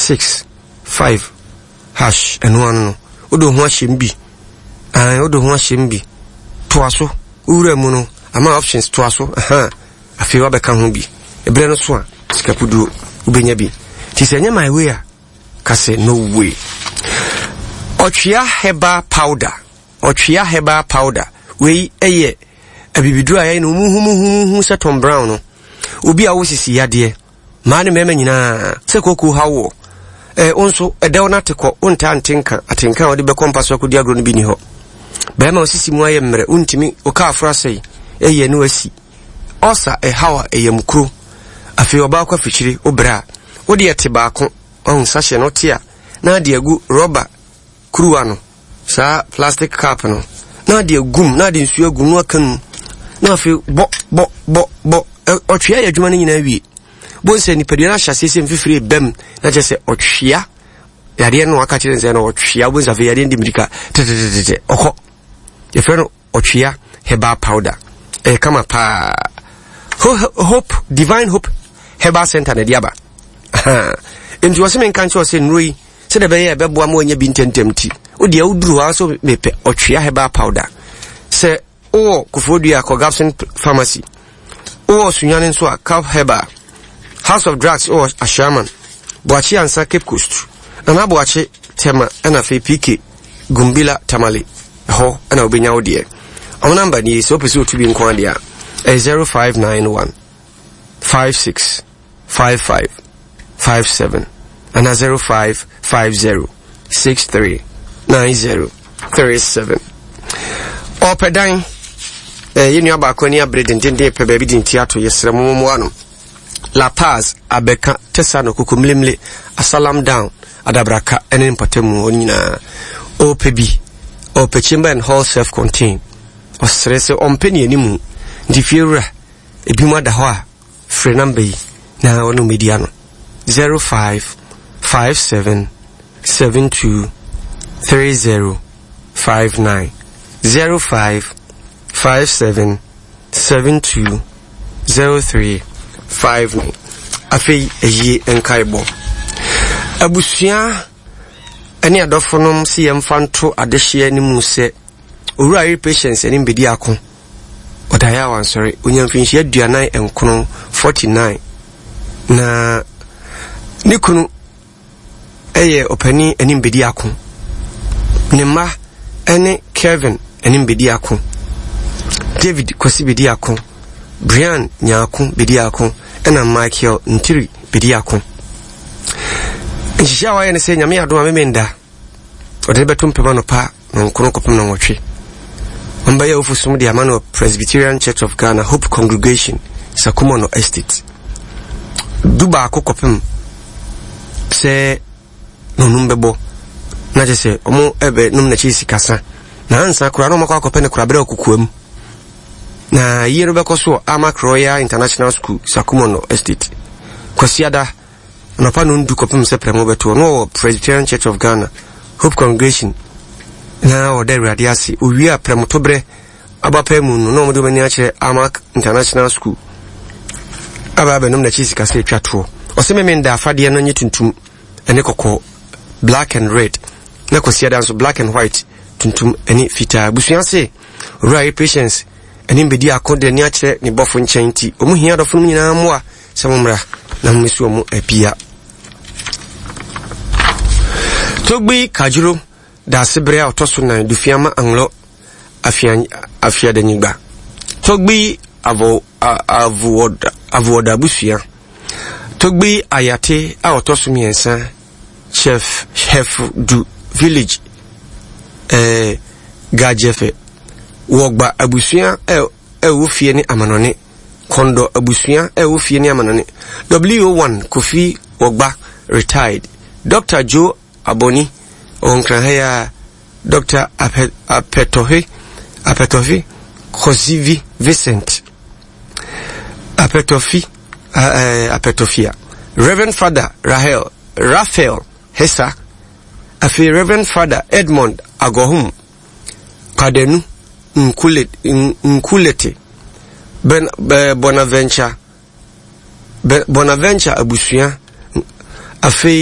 6 5 hash ɛno ano no wode wo ho ahyɛ mu bi ae wode wo ho ahyɛ mu bi toa so wowura mu no ama options toa so aha afei wabɛka ho bi ɛberɛ no so a sika puduo wobɛnya bi nti sɛ ɛnyɛ my way a ka sɛ no way ɔtwea herbal powder ɔtwea herbal powder wei ɛyɛ abibiduro a yɛyɛ no muhumuhumuhu sɛ Tom Brown no obi a wosisi yadeɛ Mmaa ne mmarima nyinaa, sɛ kooko haw woɔ, eh, wo nso, ɛdɛw no ate kɔ, wontaa nte nka, atenka a wode bɛkɔ mpa so akɔdi agorɔ no bi nni hɔ. Barima wo sisi mu ayɛ mmerɛ, wontumi, wo kaa aforo asɛe, ɛyɛ ne wasi. Ɔsa, ɛhaw a, ɛyam kuro. Afei ɔbaa kɔ afikyire, wo brɛ a, wode ɛte baako, wahu, sachet no, wote a, na ade agu rɔba kuruwa no, saa plastic cup no, na ade agum, na ade nsuo agum, na waka mu, na afei bɔ, bɔ, bɔ, bɔ, ɔtwea yɛ adwuma no nyinaa wie. Bohu sɛ nipadua no ahyɛ aseɛ sɛ mfifire bam, na kyerɛ sɛ ɔtwea yadeɛ no aka kyerɛ sɛ na ɔtwea, bohu sɛ afei yadeɛ no di mirika tetetetete, ɔkɔ. Yɛfrɛ no ɔtwea herbal powder. Ɛyɛ kama paa. Hope, Divine Hope Herbal Center na ɛde aba. Nti wɔsɛ menka nkyerɛ sɛ nnuro yi sɛdeɛ ɛbɛyɛ a ɛbɛboa ma wanya bi ntɛmntɛm nti, wo deɛ woduru hɔ ara so mepɛ ɔtwea herbal powder. Sɛ wowɔ Koforidua a, kɔ Gabson Pharmacy. Wowɔ Sunyani nso a, Cap Herbal. House of Drugs wɔ Ashaiman, Boakye Ansa Cape Coast, Nana Boakye Tema ɛna afei PK Gumbila Tamale. Ɛhɔ ɛna wobɛnya wo deɛ. Wɔn namba nie, sɛ wopɛ sɛ wotu bi nko adeɛ a, ɛyɛ 0591 56 55 57 anaa 0550 63 90 37. Ɔpɛ dan eh, yɛn nua baako ani abere dendenden pɛ baabi de nti ato yɛsrɛ mo mmoa no. La Paz, Abɛka, Tesano, Kokomlemle, Asalam Down, Adabraka ne mpɔtamu hɔ nyinaa. Ɔpɛ bi, ɔpɛ chamber and hall self-contained. Ɔsrɛ sɛ ɔmpɛ ne animu. Nti fiewura, ebi mu ada hɔ a, Frɛ number yi na ɔne wo mmɛdi ano, 0557 72 30 59, 0557 72 03 59. Afei ayie nkaebɔ. Abusua ne adɔfonom se yɛmfa nto adehyeɛ no mu sɛ Owura yere Patience anim bedi ako. Ɔdaeɛ a wansɔre. Ɔnya mfinhyia 49, 49. Na ne kunu yɛ ɔpanin anim bedi ako. Ne mma ne Kevin anim bedi ako. David Kwasi bedi ako. Brian Nyako bedi ako. Ɛna Michael Ntiri bedi ako. Nhyehyɛ a wɔayɛ ne sɛ Nyame adom a memenda. Ɔde no bɛto mpem anɔpa nɔnkron kɔpem nɔnwɔtwe. Wɔbɛyɛ awufo som de ama no wɔ Presbyterian Church of Ghana Hope Congregation, Sakumono Estate. Du baako kɔpem sɛ nɔnum bɛbɔ na kyerɛ sɛ wɔn ɛbɛ nom n'akyi sikasa na ansa koraa na wɔn akɔ akɔpɛ no korabrɛ wɔ kokoam. Na yie no bɛkɔ so wɔ Amak Royal International School, Sakumono Estate. Kwasiada Anɔpa nnɔndu kɔpem sɛ prɛmo bɛtoɔ, na ɔwɔ Presbyterian Church of Ghana, Hope Congregation, na ɔda Awurade ase. Owie a prɛmotoberɛ abapaa mu no, na wɔde wɔn ani akyerɛ Amak International School aba abɛnom n'akyi sikasɛ atwa toɔ. Ɔsɛ Memenda afadeɛ no nye tuntum ne kɔkɔɔ, black and red, na Kwasiada nso black and white, tuntum ne fitaa. Abusua se, Owura Yere Patience anim bɛdi ako de ani akyerɛ ne bɔfo nkyɛn nti, wɔn hia adɔfo no nyinaa mmoa sɛ mommra na mommɛsi wɔn apia. Togbi Kajuro Daasebrɛ a ɔtɔ so nan Dufiama Anglɔ Afiadanyigba Togbi Avoɔda Abusua Togbi Ayate a ɔtɔ so mmiɛnsa Chef Hef Du Village eh, Gajɛfɛ Wɔgba Abusua ɛwɔ fie ne amanɔne Kɔndɔ abusua a ɛwɔ fie ne amanɔne. WO1 Kofi Wɔgba, retired. Dɔkta Joe Aboni, ɔwɔ Nkran ha yi ara. Dɔkta Apɛ, Apɛtɔhwe, Apɛtɔhwe Kosivi Vincent. Apɛtɔfi, eh, Apɛtɔfia. Reverend Father Rahel, Raphael Hesa. Afei Reverend Father Edmond Agɔhom. Padanu, Nkule, Nkulete, Ben, Bonaventure, Bonaventure abusua, afei.